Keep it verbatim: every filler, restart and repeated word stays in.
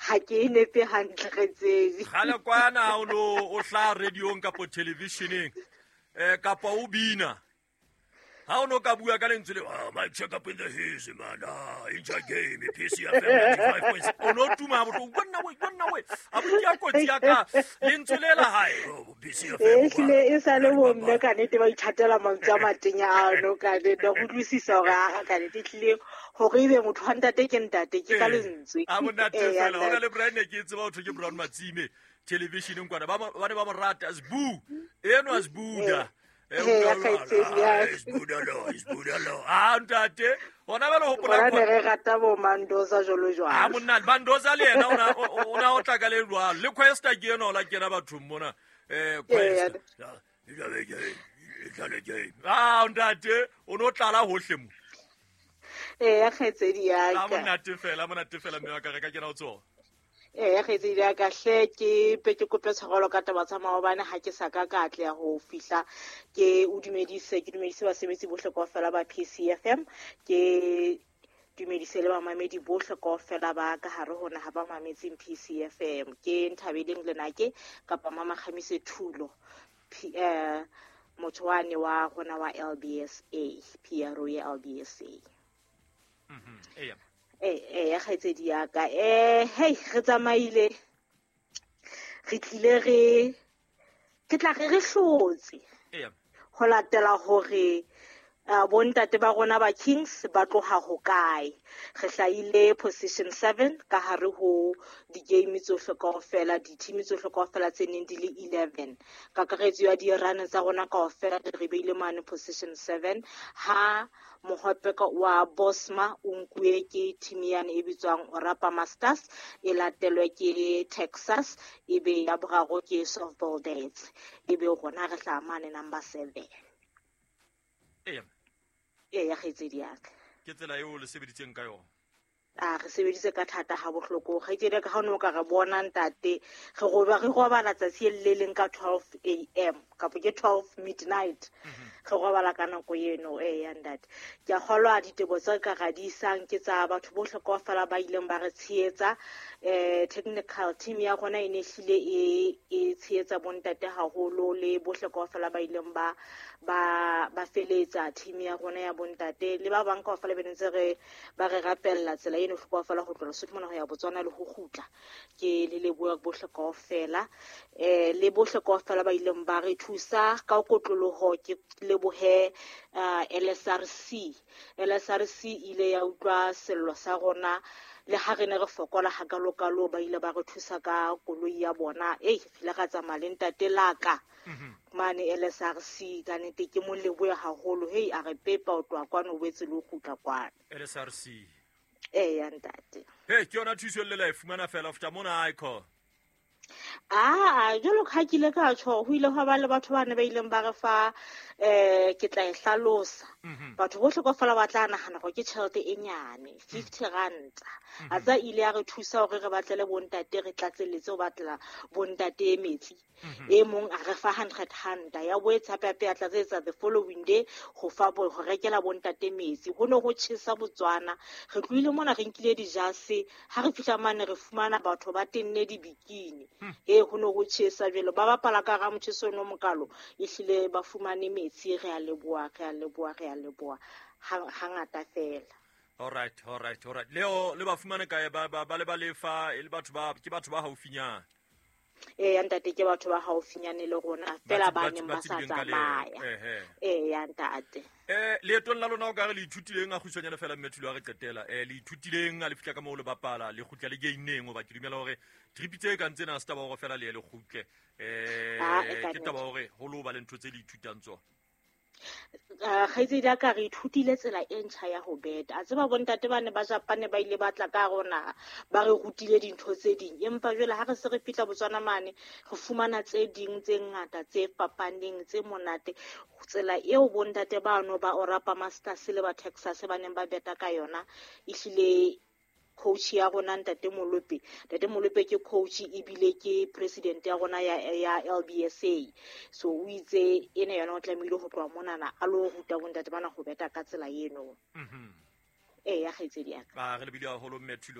Ha ke e nepe hantle kgaitsedi. Kgale kwana o no o hlaha radiong kapo televisioneng eh kapa o bina. Ha o no ka bua ka lentswe le, ah, mic check up in the hills, man, ah, inja game, P C F M ninety-five point six. O no tuma bohloko, wena we, wena we. A bo ya kotsi ya ka lentswe le la hae, oh, P C F M. E hlile e sa le bo mme ka nnete ba ithatela mantswe a matenya ano ka nnete, go utlwisisa hore a ka nnete hlile hore ebe motho wa ntate ke ntate ke ka lentswe. A monate Eh, fela, ya hona le Brian ne ke tseba ho thwe ke Brown Matsime televisioneng kwana, ba ba ne ba mo rata, Sbu, enwa Sbuda. Eh, ya kgaitsedi ya. Ah, ntate, hona jwale hopola Rona ne re rata bo Mandoza jwalo jwalo. Ah, monna, Mandoza le yena o na, o, o na o tla ka le jwalo. Le Questa ke yena o la kena bathong mona. Eh, Questa. Ah, ntate, o no tlala hohle mo. Eh, ya kgaitsedi ya Ah, ka. monate fela, monate fela, mme wa ka re ka kena ho tsona. Eh, ya kgaitsedi ya ka hle, ke pe ke kope tshwarelo ka taba tsa maobane ha ke sa ka ka atleha ho fihla. Ke o dumedise, ke dumedise basebetsi bohle kaofela ba P C F M, ke dumedise le bamamedi bohle kaofela ba ka hare ho naha ba mametseng P C F M. Ke Nthabeleng Lenake kapa Mama Kgamise Thulo, P, eh, motho wane wa rona wa L B S A, P R O ya L B S A. Mhm, eya. Eh, eh, ya kgaitsedi ya ka. Eh, hey, re tsamaile. Re tlile re, ke tla re re hlotse. Eya. Ho latela hore, eh, bontate ba rona ba Kings ba tloha hokae. Re hlahile position seven ka hare ho di-game tsohle kaofela, di-team tsohle kaofela tse neng di le eleven. Kakaretso ya di-run tsa rona kaofela re beile mane position seven. Ha mohope ka wa Bosma o nkuwe ke team yane e bitswang Orapa Masters, e latelwe ke Texas, e be ya boraro ke Softball Dads, e be rona re hlaha mane number seven. Eya. Ee, ya kgaitsedi ya ka. Ke tsela eo le sebeditseng ka yona? A re sebeditse ka thata ha bohloko. Kgaitsedi ya ka, ha o no ka re bona ntate, re roba, re robala tsatsi le leng ka twelve A M kapa ke twelve midnight. Mhm. Re robala ka nako eno, ee, ya ntate. Ke a kgolwa ditebo tse ka ra di isang ke tsa batho bohle kaofela ba ileng ba re tshehetsa. Eh, technical team ya rona e ne hlile e, e tshehetsa bontate haholo le bohle kaofela ba ileng ba, ba, ba feletsa team ya rona ya bontate le ba bang kaofela be ntse re ba re rapella tsela eno kaofela ho tloha Lesotho mona ho ya Botswana le ho kgutla. Ke le leboha bohle kaofela. Eh, le bohle kaofela ba ileng ba re thusa ka kotloloho, ke lebohe, eh, L S R C. L S R C ile ya utlwa sello sa rona le ha re ne re fokola hakalokalo, ba ile ba re thusa ka koloi ya bona. Ei, re ile ra tsamaya le ntate Laka Mhm. mane L S R C, ka nnete ke mo lebohe haholo. Hei, a re pepa ho tloha kwano, o boetse le ho kgutla kwano. L S R C. Ee, ya ntate. Hei, ke yona thuso le la e fumana fela ho feta mona, Icon. Ah, jwalo ka ha ke ile ka tjho, ho ile hwa ba le batho ba ne ba ileng ba re fa, eh, ke tla e hlalosa. Mhm. Batho bohle kaofela ba tla nahana hore ke tjhelete e nyane, fifty ranta. Mhm. A tsa ile ya re thusa hore re batlele bontate, re tlatselletse ho batlela bontate metsi. Mhm. E mong a re fa hundred ranta, ya boetse hape hape ya tlatsetsa the following day ho fa bo, ho rekela bontate metsi. Ho ne ho tjhesa Botswana. Re tlohile mona re nkile dijase, ha re fihla mane re fumana batho ba tenne dibikini. Hmm. E, ho ne ho tjhesa jwale, ba bapala ka hara motjheso ono mokalo, ehlile ba fumane metsi. Re a leboha, re a leboha, re a leboha ha, hangata fela. All right, all right, all right. Leo le ba fumane kae? Ba, ba, ba le ba lefa, e le batho ba, ke batho ba haufinyane? Ee, ya ntate, ke batho ba haufinyane le rona, fela Ba ba tse-, neng ba ba sa tsebileng ka leeto. tsamaya. Ehe. Ee, ya ntate. Eh, leetong la lona o ka re le ithutileng, a kgutshwanyane fela mme Thulo ha re qetela. Eh, le ithutileng ha le fihla ka moo le bapala, le kgutla le game-neng, hoba ke dumela hore trip tse kang tsena ha se taba hore fela le ye le kgutle. Eh, Ah, e ka ke taba nnete. hore ho lo ba le ntho tse le ithutang tsona. Eh, kgaitsedi ya ka, re ithutile tsela e ntjha ya ho beta. A tseba bontate ba ne ba Japane ba ile ba tla ka rona, ba re rutile dintho tse ding. Empa jwale ha re se re fihla Botswana mane, re fumana tse ding tse ngata tse fapaneng tse monate. Tsela eo bontate bano ba Orapa Masters le ba Texas ba neng ba beta ka yona, ehlile coach ya rona Ntate Molope. Ntate Molope ke coach ebile ke president ya rona ya, ya L B S A. So o itse ena yona o tlamehile ho tloha monana a lo ruta bontate bana ho beta ka tsela eno. Mhm. Ee, ya kgaitsedi ya ka. Ba re lebile haholo mme Thulo.